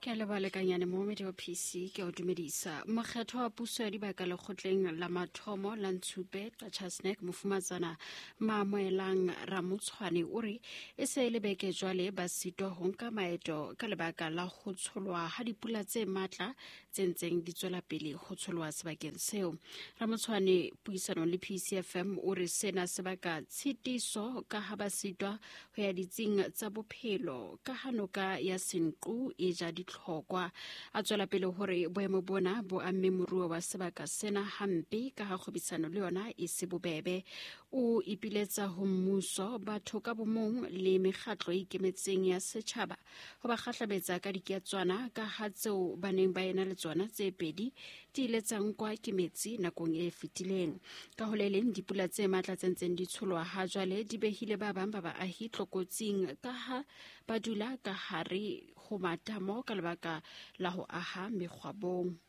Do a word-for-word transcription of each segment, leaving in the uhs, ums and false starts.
Ke a leboha lekanyane momamedi wa P C, ke a o dumedisa. Mokgetho wa puso ya dibaka lekgotleng la mathomo la Ntshupe Qacha's Nek, mofumatsana Maamoelang Ramotshwane, o re e se e le beke jwale ba sitwa ho nka maeto ka lebaka la ho tsholwa ha dipula tse matla tse ntseng di tswela pele ho tsholwa sebakeng seo. Ramotshwane puisanong le P C F M o re sena se baka tshitiso ka ha ba sitwa ho ya ditsing tsa bophelo ka ha noka ya Senqu e ja ditlhokwa. A tswela pele hore boemo bona bo amme moruo wa sebaka sena hampe ka ha kgwebisano le yona e se bobebe. O ipiletsa ho mmuso, batho ka bomong le mekgatlo e ikemetseng ya setjhaba ho ba kgahlabetsa ka diketswana ka ha tseo ba neng ba ena le tsona tse pedi di ile tsa nkwa ke metsi nakong e fetileng. Ka ho le leng, dipula tse matla tse ntseng di tsholwa ha jwale di behile ba bang ba baahi tlokotsing ka ha ba dula ka hare ho matamo ka lebaka la ho aha mekgwabong.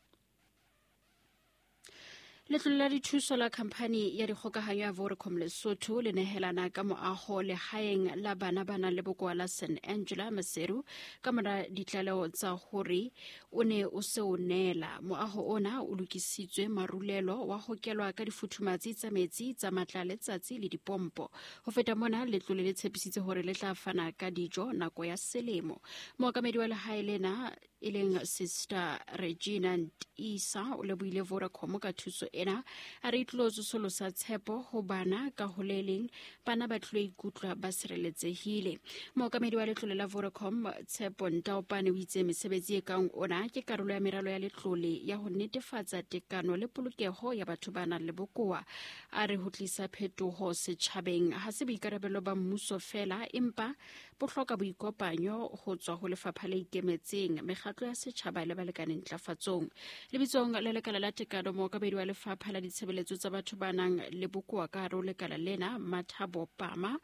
Letlole la dithuso la khamphani ya dikgokahanyo ya Vodacom Lesotho le nehelana ka moaho lehaeng la bana ba nang le bokowa la Saint Angela Maseru ka mora ditlaleho tsa hore o ne o se o neela. Moaho ona o lokisitswe marulelo, wa hokelwa ka difuthumatsi tsa metsi tsa matla letsatsi le dipompo. Ho feta mona, letlole le tshepisitse hore le tla fana ka dijo nako ya selemo. Mookamedi wa lehae lena e leng Sister Regina Isa o lebohile Vodacom ka thuso ena, a re e tlilo tsosolosa tshepo ho bana, ka ho le leng bana ba tlilo ikutlwa ba sireletsehile. Mookamedi wa letlole la Vodacom Tshepo Ntaopane o itse mesebetsi e kang ona ke karolo ya meralo ya letlole ya ho netefatsa tekano le polokeho ya batho ba nang le bokowa. A re ho tlisa phetoho setjhabeng ha se boikarabelo ba mmuso fela, empa bo hloka boikopanyo ho tswa ho lefapha le ikemetseng, mekgatlo ya setjhaba le balekane ntlafatsong. Lebitsong la lekala la tekano, mookamedi wa lefapha la ditshebeletso tsa batho ba nang le bokowa ka hare ho lekala lena, Mathabo Pama,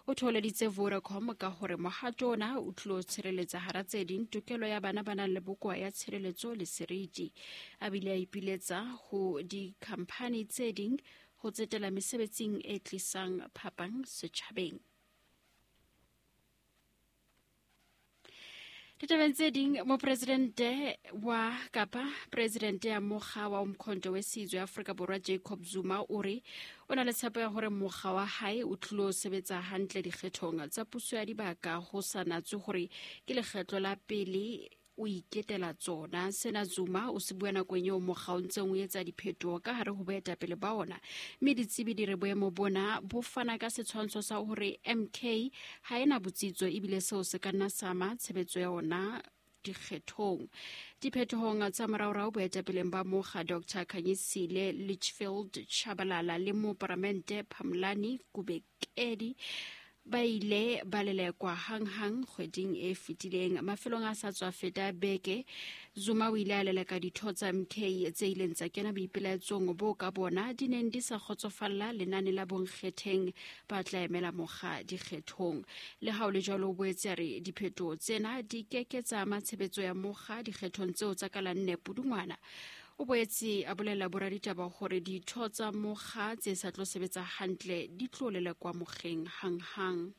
o thoholeditse Vodacom ka hore mohato ona o tlilo tshireletsa hara tse ding tokelo ya bana ba nang le bokowa ya tshireletso le seriti. A bile a ipiletsa ho dikhamphani tse ding ho tsetela mesebetsing e tlisang phapang setjhabeng. Ditabeng tse ding, mopresidente wa kapa presidente ya mokga wa Umkhonto weSizwe Afrika Borwa Jacob Zuma o re o na le tshepo ya hore mokga wa hae o tlilo sebetsa hantle dikgethong tsa puso ya dibaka ho sa natswe hore ke lekgetlo la pele o iketela tsona. Sena Zuma o se bua nakong eo mokga o ntseng o etsa diphetoho ka hare ho boetapele ba ona, mme ditsebi di re boemo bona bo fana ka setshwantsho sa hore M K ha ena botsitso ebile seo se ka nna sa ama tshebetso ya ona dikgethong. Diphetohong tsa moraorao boetapeleng ba mokga, Doctor Khanyisile Litchfield Chabalala le moparamente Phamlani Kubekedi ba ile ba lelekwa hanghang kgweding e fetileng. Mafelong a sa tswa feta beke, Zuma o ile a leleka ditho tsa M K tse ileng tsa kena boipelaetsong bo ka bona di neng di sa kgotsofalla lenane la bonkgetheng ba tla emela mokga dikgethong. Le ha o le jwalo, o boetse a re diphetoho tsena di keke tsa ama tshebetso ya mokga dikgethong tseo tsa ka la nne Pudungwana. O boetse a bolela boraditaba hore ditho tsa mokga tse sa tlo sebetsa hantle di tlo lelekwa mokgeng hanghang.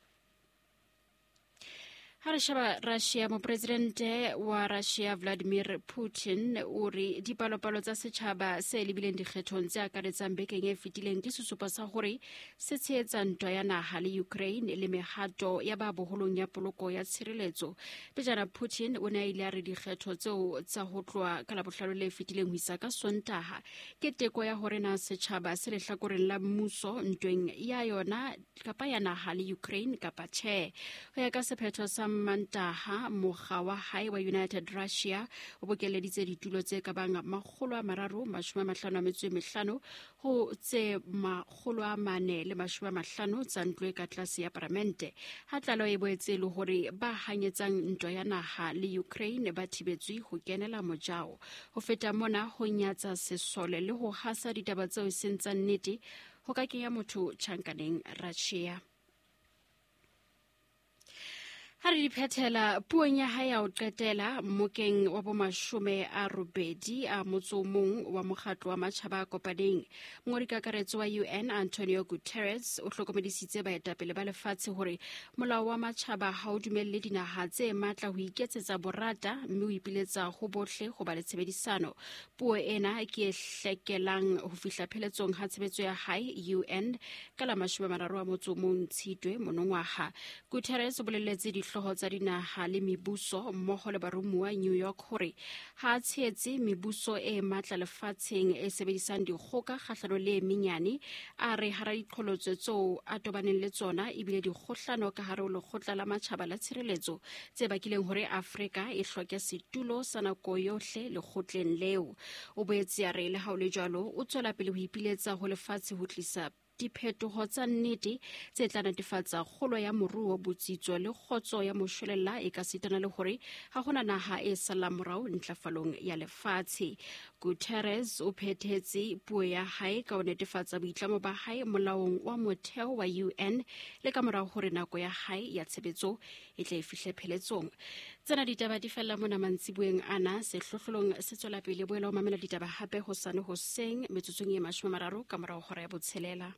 Ha re sheba Russia, mopresidente wa Russia Vladimir Putin o re dipalopalo tsa setjhaba se lebileng dikgethong tse akaretsang bekeng e fetileng ke sesupo sa hore se tshehetsa ntwa ya naha le Ukraine le mehato ya ba boholong ya poloko ya tshireletso. Pejana Putin o ne a ile a re dikgetho tseo tsa ho tloha ka Labohlano le fetileng ho isa ka Sontaha ke teko ya hore na setjhaba se lehlakoreng la mmuso ntweng ya yona kapa ya naha le Ukraine kapa tjhe. Ho ya ka sephetho sa Mantaha, mokga wa hae wa United Russia o bokelleditse ditulo tse ka bang makgolo a mararo mashome a mahlano a metso e mehlano ho tse makgolo a mane le mashome a mahlano tsa ntlo e ka tlase ya paramente, ha tlaleho e boetse e le hore ba hanyetsang ntwa ya naha le Ukraine ba thibetswe ho kenela mojao. Ho feta mona, ho nyatsa sesole le ho hasa ditaba tseo e seng tsa nnete ho ka kenya motho tjhankaneng Russia. Ha re di phethela puong ya hae ya ho qetela mmokeng wa bomashome a robedi a motso o mong wa mokgatlo wa matjhaba a kopaneng, mongodi kakaretso wa U N Antonio Guterres o hlokomedisitse baetapele ba lefatshe hore molao wa matjhaba ha o dumelle dinaha tse matla ho iketsetsa borata, mme o ipiletsa ho bohle ho ba le tshebedisano. Puo ena ke e hlekelang ho fihla pheletsong ha tshebetso ya hae U N ka la mashome a mararo a motso o mong Tshitwe monongwaha. Guterres o boleletse dihlooho tsa dinaha le mebuso mmoho le baromuwa New York hore ha a tshehetse mebuso e matla lefatsheng e sebedisang dikgoka kgahlano le e menyane. A re hara diqholotso tseo a tobaneng le tsona ebile dikgohlano ka hare ho lekgotla la matjhaba la tshireletso tse bakileng hore Afrika e hloke setulo sa nako yohle lekgotleng leo. O boetse a re le ha ho le jwalo o tswela pele ho ipiletsa ho lefatshe ho tlisa diphetoho tsa nnete tse tla netefatsa kgolo ya moruo, botsitso le kgotso ya moshwelella e ka sitana le hore ha hona naha e sallang morao ntlafalong ya lefatshe. Guterres o phethetse puo ya hae ka ho netefatsa boitlamo ba hae molaong wa motheo wa U N le ka morao hore nako ya hae ya tshebetso e tle e fihle pheletsong. Tsena ditaba di fella mona mantsiboeng ana. Sehlohlolong se tswela pele. Boela o mamela ditaba hape hosane hoseng metsotsong e mashome a mararo ka morao hora ya botshelela.